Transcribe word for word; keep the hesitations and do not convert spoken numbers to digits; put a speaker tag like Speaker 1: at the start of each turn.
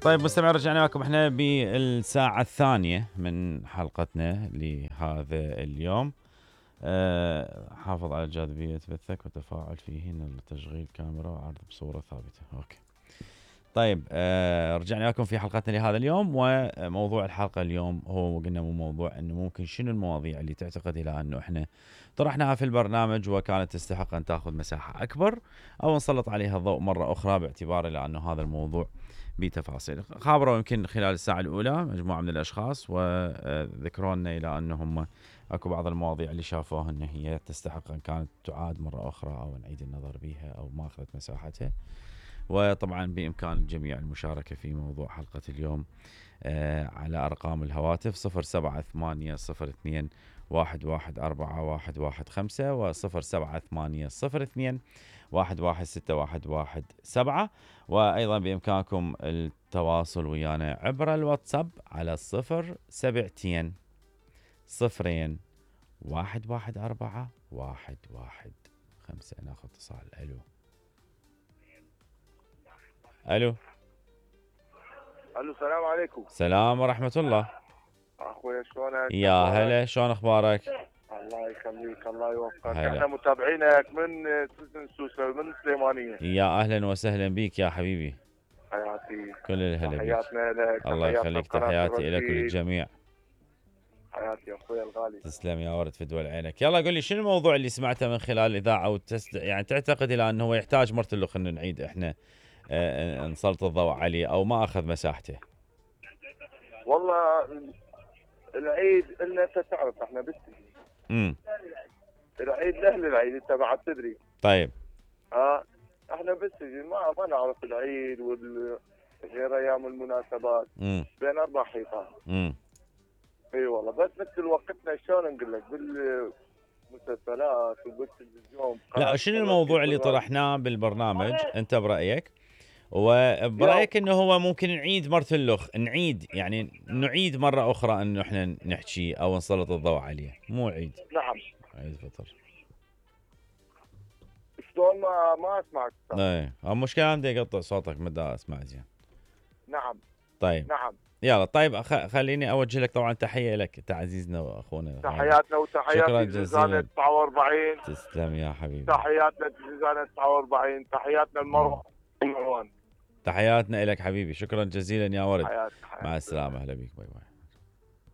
Speaker 1: طيب مستمعين، رجعنا لكم احنا بالساعة الثانية من حلقتنا لهذا اليوم. أه حافظ على جاذبية بثك وتفاعل فيهن لتشغيل كاميرا وعرض بصورة ثابتة. اوكي. طيب أه رجعنا لكم في حلقتنا لهذا اليوم، وموضوع الحلقة اليوم هو قلنا مو موضوع انه ممكن شنو المواضيع اللي تعتقد الى انه احنا طرحناها في البرنامج وكانت تستحق ان تاخذ مساحة اكبر، او نسلط عليها الضوء مرة اخرى باعتبار لانه هذا الموضوع بتفاصيل. خابروا يمكن خلال الساعة الأولى مجموعة من الأشخاص وذكروا لنا إلى أنه هم أكو بعض المواضيع اللي شافوها أن هي تستحق أن كانت تعاد مرة أخرى أو نعيد النظر بها أو ما أخذت مساحتها. وطبعا بإمكان الجميع المشاركة في موضوع حلقة اليوم على أرقام الهواتف صفر سبعة ثمانية صفر اثنين واحد واحد أربعة واحد واحد خمسة وصفر سبعة ثمانية صفر اثنين واحد واحد ستة واحد واحد سبعة. وأيضا بإمكانكم التواصل ويانا عبر الواتساب على صفر سبعتين صفرين واحد واحد أربعة واحد واحد خمسة. ناخذ اتصال. ألو ألو
Speaker 2: الو السلام عليكم.
Speaker 1: السلام ورحمة الله.
Speaker 2: اخويا شلونك؟
Speaker 1: يا هلا، شلون اخبارك؟
Speaker 2: الله يخليك، الله يوفقك.
Speaker 1: هلا.
Speaker 2: احنا متابعينك من سجن سوسه من سليمانيه.
Speaker 1: يا اهلا وسهلا بيك يا حبيبي.
Speaker 2: حياتي.
Speaker 1: كل الهلا بيك.
Speaker 2: تحياتنا لك.
Speaker 1: الله يخليك، تحياتي لك وللجميع.
Speaker 2: حياتي يا اخويا الغالي.
Speaker 1: تسلم يا ورد في دول عينك. يلا قل لي شنو الموضوع اللي سمعته من خلال الاذاعه وتست... يعني تعتقد الى انه هو يحتاج مرتلخ انه نعيد احنا آه نسلط الضوء عليه او ما اخذ مساحته؟
Speaker 2: والله العيد إلنا انت تعرف احنا بالسجن.
Speaker 1: امم
Speaker 2: العيد لاهل العيد انت بعد تدري.
Speaker 1: طيب.
Speaker 2: اه احنا بالسجن ما ما نعرف العيد وال غير ايام المناسبات.
Speaker 1: امم
Speaker 2: بين اربع حيطان.
Speaker 1: امم
Speaker 2: اي والله، بس مثل وقتنا شلون نقول لك بالمسلسلات وبالتلفزيون.
Speaker 1: لا، شنو الموضوع اللي طرحناه بالبرنامج انت برايك؟ وبرايك انه هو ممكن نعيد مرتلخ نعيد يعني نعيد مره اخرى انه احنا نحكي او نسلط الضوء عليه، مو عيد.
Speaker 2: نعم.
Speaker 1: عيد فطر.
Speaker 2: شلون ما ما اسمعك؟
Speaker 1: ايه المشكله عندي يقطع صوتك ما دا اسمع زين.
Speaker 2: نعم.
Speaker 1: طيب.
Speaker 2: نعم.
Speaker 1: يلا طيب خليني اوجه لك طبعا تحيه لك تعزيزنا واخونا.
Speaker 2: تحياتنا وتحيات زنزانة تسعة وأربعين.
Speaker 1: تسلم يا حبيبي.
Speaker 2: تحياتنا زنزانة تسعة وأربعين. تحياتنا المروان.
Speaker 1: تحياتنا لك حبيبي، شكرا جزيلا يا ورد.
Speaker 2: حياتك. حياتك.
Speaker 1: مع السلامه، اهلا بيك، باي باي.